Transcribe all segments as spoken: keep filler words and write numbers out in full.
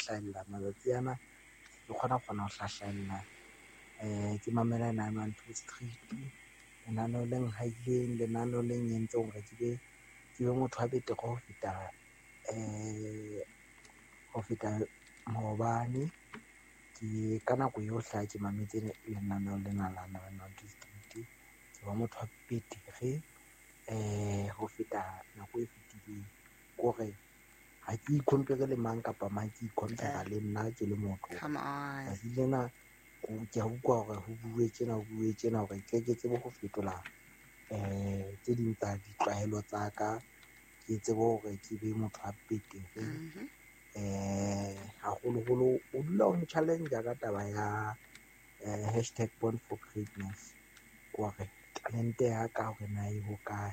hlahella matsatsi ana ke kgona kgona ho hlahlella. Eh ke mamela nine one two street lenaneo le nhaileng lenaneo le nyentseng hore ke be ke be motho wa betere ho feta eh ho feta maobane. Ke ka nako yohle ha ke mametse lenaneo lena la nine one two street ke ba motho wa betere eh ho feta nako e fetileng. Kore ha ke i-compare le mang kapa mang, ke i-compare le nna ke le motho. Come on. Tsatsi lena ke a utlwa hore ho bue tjena ho bue tjena hore ke ke tsebe ho fetola eh tse ding tsa ditlwaelo tsa ka, ke tsebe hore ke be motho wa betere. Mhm. Eh haholoholo o dula o challenge ka taba ya eh hashtag born for greatness hore talente ya ka hore na e hokae.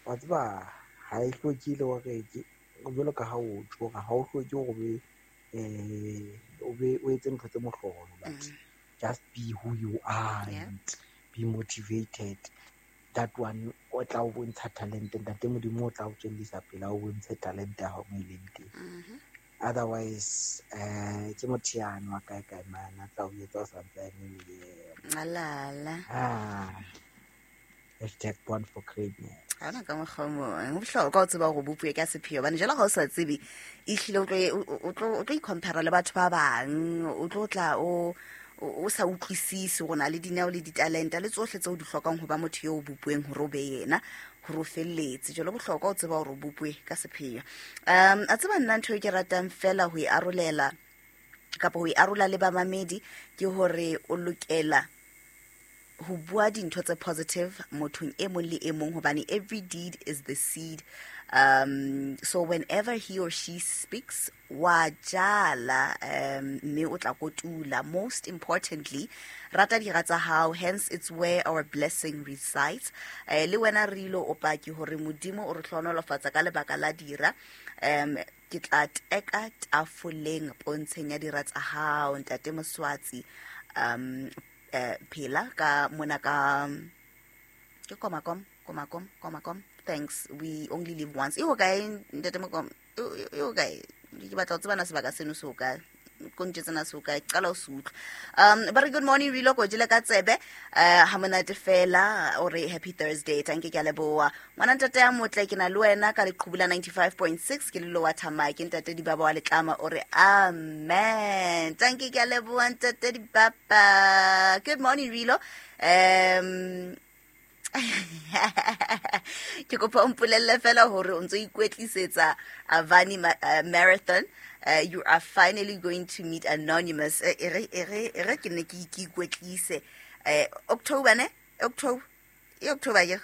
Wa tseba ha e hlokile hore ke jwalo ka ha o tjho hore ha o hloke hore o be eh o be o etse ntho tse mohlolo, but Mm. just be who you are Yeah. and be motivated. That one o tla o bontsha talente, ntate Modimo o tla o tswellisa pele a o bontshe talente ya hao mo e leng teng. Mhm. Otherwise eh ke motho yane wa kae kae mane a tla o etsa o santse a eme le yena. Alala. Ah, hashtag born for greatness. Ha hona ka mokgwa o mong. Ho bohlokwa ho tseba hore o bopuwe ka sepheo hobane jwale ha o sa tsebe ehlile o tlo o- o tlo o tlo i-compare le batho ba bang, o tlo tla o o o sa utlwisise hore o na le dineo le ditalente le tsohle tseo di hlokang ho ba motho eo o bopuweng hore o be yena hore o felletse. Jwale ho bohlokwa ho tseba hore o bopuwe ka sepheo. Um a tseba nna ntho e ke ratang fela ho e arolela kapa ho e arola le bamamedi ke hore o lokela ho bua dintho tse positive mothong e mong le e mong hobane every deed is the seed. Um so whenever he or she speaks wa jala um mme o tla kotula. Most importantly, rata dira tsa hao, hence it's where our blessing resides. Eh le wena re ilo o paki hore Modimo o re hlohonolofatsa ka lebaka la dira. Um ke tla teka tafoleng pontsheng ya dira tsa hao ntate Moswatsi. Um eh phela ka mona ka ke komakom komakom komakom thanks, we only live once. E hokae ntate Mokom? E e hokae? Ke batla ho tseba na sebaka seno se hokae, ko ntjetse na se hokae, qala ho se utlwa. Um ba re good morning Rilo, ko jele ka tsebe eh ha monate fela, o re happy Thursday. Tanke ke a leboha ngwana ntate ya motle, ke na le wena ka leqhubu la ninety-five point six ke le wa Thamai, ke ntate Dibaba wa Letlama, o re amen. Tanke ke a leboha ntate Dibaba. Good morning Rilo. Um ke kopa o mpolelle fela hore o ntso ikwetlisetsa Avani ma-, uh, Marathon. Uh, you are finally going to meet Anonymous. Eh, e re, e re, e re ke ne ke ke ikwetlise. Eh, October ne? October. E October ke.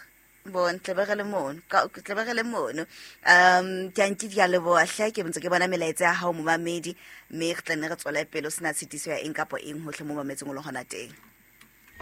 Bon, tle be re le mono. Ka, tle be re le mono. Um, ke a nke di a leboha hle, ke ntse ke bona melaetsa ya hao momamedi, mme re tla nne re tswele pele ho sena tshitiso ya eng kapa eng hohle mo mametseng o le hona teng.